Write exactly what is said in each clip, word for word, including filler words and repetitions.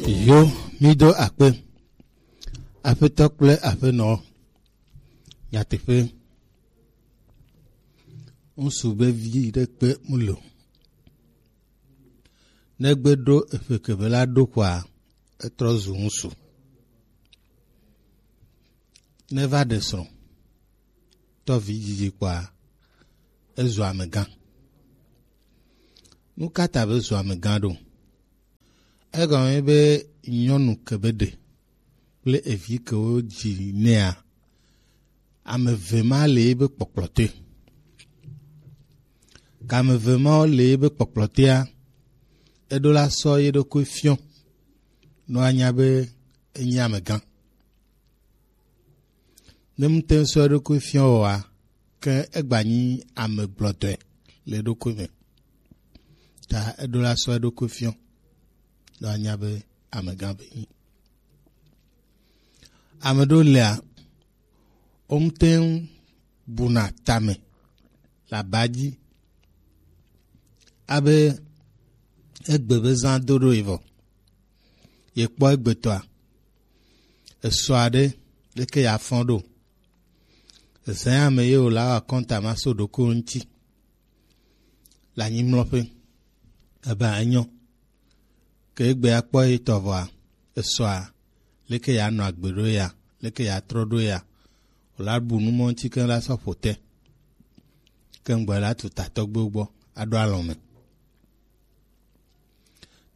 Yo, mi do akpe. Aƒetɔ kple aƒenɔ, nyateƒe, ŋsu be vi ɖe kpe mu lo. Negbe ɖo eƒe kebe la ɖo kɔa, etrɔ zu ŋsu. Neva ɖe srɔ̃, tɔ vi dzidzi kpɔa, ezu amegã. Nu ka ta be zu amegã ɖo? Egɔme be nyɔnu ke be ɖe kple evi ke wodzi nɛa, ame eve ma le ebe kpɔkplɔ te. Ke ame eve mawo le ebe kpɔkplɔ tea, eɖo la sɔ ye ɖokui fiɔ, nɔ anya be enye amegã. Ne ŋute ŋu sɔ eɖokui fiɔ oa, ke egba nyi ame gblɔtɔe le eɖokui me. Ta eɖo la sɔ eɖokui fiɔ, nɔ anya be amegã be nyi. Ame ɖewo lea, wo ŋute ŋu buna tame le aba dzi. Abe egbe be zã do ɖo yi vɔ. Ye kpɔ egbetɔa, esɔ aɖe leke ya fɔ ɖo. Ezã ame ye wòla wɔ akɔnta ma so ɖoko ŋuti. Le anyimlɔƒe. Ebe enyɔ. Ke egbe akpɔ ye tɔ vɔa, esɔa, leke ya nɔ agbe ɖo ya, leke ya trɔ ɖo ya. Wòla bu nu mɔ ŋuti keŋ la sɔ ƒo te. Ke ŋgbɔ la tu tatɔgbewo gbɔ, aɖo alɔ̃ me.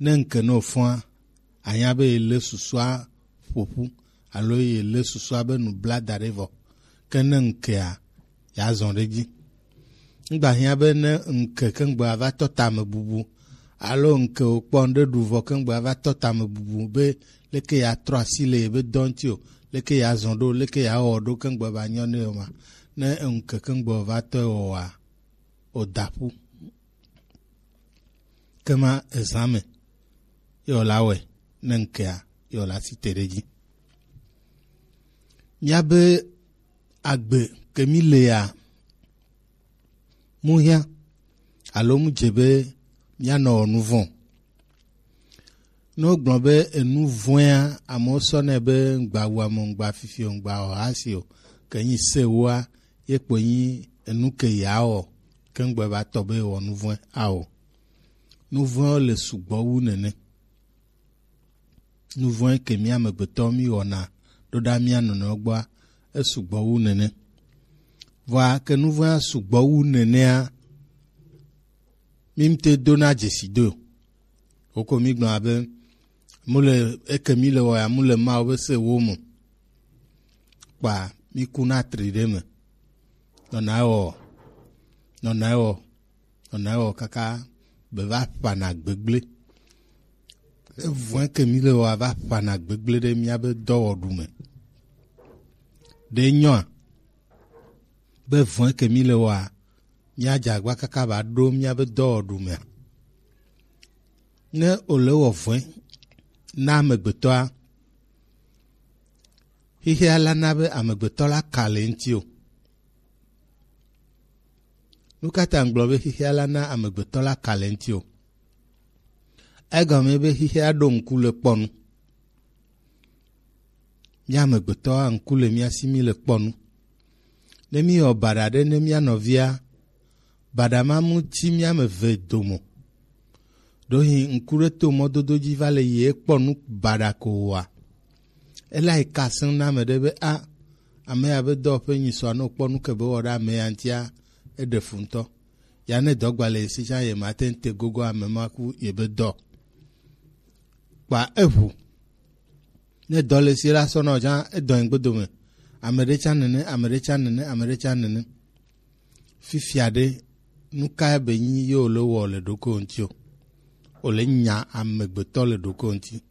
Ne ŋke ne wòfɔa, anya be yelé susua ƒo ƒu, alo yelé susua be nu bla da ɖe vɔ. Ke ne ŋkea, yeazɔ ɖe edzi. Ŋgba hiã be ne ŋke keŋgbe ava tɔ tame bubu, alo ŋke wòkpɔ ŋɖe ɖu vɔ keŋgbe ava tɔ tame bubu be leke yeatrɔ asi le yebe dɔ ŋuti o, leke yeazɔ ɖo, leke yeawɔ ɖo keŋgbe va nyɔ nɛ o ma. Ne ŋke keŋgbe wòva tɔ wɔa, wòda ƒu. Kema ezã me, ye wòla wɔe, ne ŋkea, ye wòla si te ɖe edzi. Míabe agbe ke mí lea, mu hiã, alo mu dze be míanɔ wɔ nu vɔ̃. Ne wogblɔ be enu vɔ̃ea, amewo sɔnɛ be ŋgba wu ame, ŋgba fifi o, ŋgba wɔ hasi o, ke nyi se ewoa, ye kpoe nyi enu ke yeawɔ, ke ŋgbe va tɔ be wɔ nu vɔ̃e ao. Nu vɔ̃ewo le sugbɔ wu nene. Nu vɔ̃e ke mía amegbetɔwo mí wɔna ɖo ɖa mía nɔnɔewo gbɔa, esugbɔ wu nene. Vɔa ke nu vɔ̃ea sugbɔ wu nenea, mí ŋute dona dzesi do. Woko mí gblɔna be, mu le, eke mí le wɔ ya, mu le Mawu be se wo me. Kpa mí ku na tri ɖe me. Nɔna ewɔ, nɔna ewɔ, nɔna ewɔ kaka be va ƒana gbegblẽ. Evɔ̃e ke mí le wɔa va ƒana gbegblẽ ɖe míabe dɔwɔɖu me. Ɖe nyɔa? Be vɔ̃e ke mí le wɔa, míadze agba kaka va ɖo míabe dɔwɔɖu mea? Ne wòle wɔ vɔ̃e na amegbetɔa, xexea la na be amegbetɔ la ka le ŋuti o. Nu ka ta ŋgblɔ be xexea la na amegbetɔ la ka le ŋuti o? Egɔme be xexea ɖo ŋku le kpɔ nu. Mía amegbetɔa ŋku le mía si mí le kpɔ nu. Ne míwɔ baɖa ɖe ne mía nɔvia, baɖa ma mu ti mía ame eve dome o. Ɖewohĩ ŋku ɖe to mɔdodo dzi va le yi ekpɔ nu baɖa ko oa, ele ayi ka asem na ame ɖe be a, ame ya be dɔwɔƒe nyi sɔa, ne wòkpɔ nu ke be wɔ ɖe ame ya ŋutia, eɖe fu ŋutɔ. Ya ne dɔ gba le ye si tsã, ye ma te ŋu te gogo ame ma ku ye be dɔ. Kpa eʋu. Ne dɔ le si la sɔ nɔ tsã, edɔ yin gbedome. Ame ɖe tsã nene, ame ɖe tsã nene, ame ɖe tsã nene. Fifia ɖe, nu ka be nyi ye wòle wɔ le ɖokui ŋuti o? Wòle nya amegbetɔ le ɖokui ŋuti.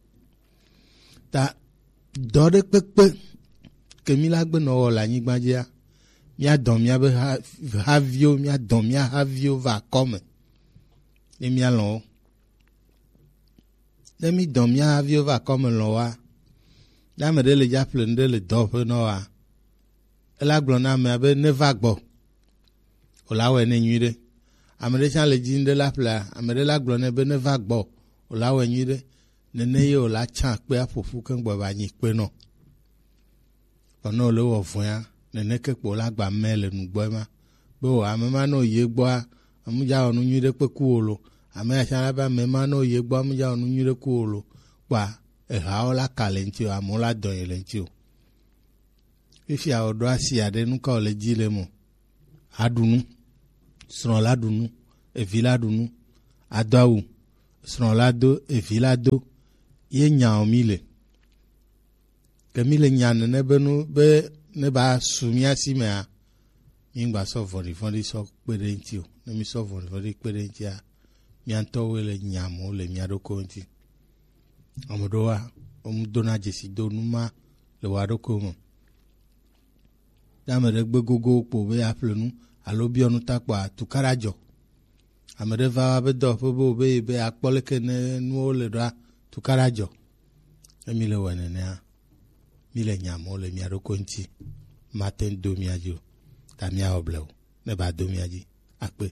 Ta dɔ ɖe kpekpe ke mí la gbe nɔ wɔ le anyigba dzia, mía dɔ míabe ha-, haviwo, mía dɔ mía haviwo va akɔme. Ne mía lɔ̃ wo. Ne mí dɔ mía haviwo va akɔme lɔ̃ woa, ne ame ɖe le dza ƒle nu ɖe le dɔwɔƒe nɔ woa, ela gblɔ na amea be neva gbɔ. Wòla wɔe nɛ nyuiɖe. Ame ɖe tsã le dzi nu ɖe la ƒlea, ame ɖe la gblɔ nɛ be neva gbɔ. Wòla wɔe nyuiɖe. Nene ye wòle atsã akpe aƒo ƒu keŋ gbɔ va nyi kpenɔ. Vɔ ne wòle wɔ vɔ̃ea, nene ke kpo wòle agba mɛ le nugbɔ ema. Be o, ame ma ne wòyi egbɔa, emu dza wɔ nu nyui ɖe kpe ku o lo. Ame ya tsã la be ame ma ne wòyi egbɔa, emu dza wɔ nu nyui ɖe ku o lo. Kpoa, ehawo la ka le ŋuti o, amewo la dɔ yi le ŋuti o. Fifia wòɖo asi aɖe, nu ka wòle dzi le eme o? Aɖu nu, srɔ̃ la ɖu nu, evi la ɖu nu, ado awu, srɔ̃ la do, evi la do, ye nya o mi le. Ke mi le nya nene be nu be ne ba su mía si mea, mi ŋgba sɔ vɔ̃ɖivɔ̃ɖi sɔ kpe ɖe ŋuti o. Ne mi sɔ vɔ̃ɖivɔ̃ɖi kpe ɖe ŋutia, mía ŋutɔwoe le nya mo le mía ɖokuiwo ŋuti. Ame ɖewoa, wodona dzesi do nu ma le woa ɖokuiwo me. Ne ame ɖe gbe gogo kpo be yeaƒle nu alo biɔ nu ta kpoa, tukaɖa dzɔ. Ame ɖe va be dɔwɔƒe be wòbe yi be yeakpɔ leke ne nuwo le ɖoa, tukaɖa dzɔ. Ne mi le wɔe nenea, mi le nya mo le mia ɖokui ŋuti. Mate ŋu do mia dzi o. Ta miawɔ blewu ne ba do mia dzi. Akpe.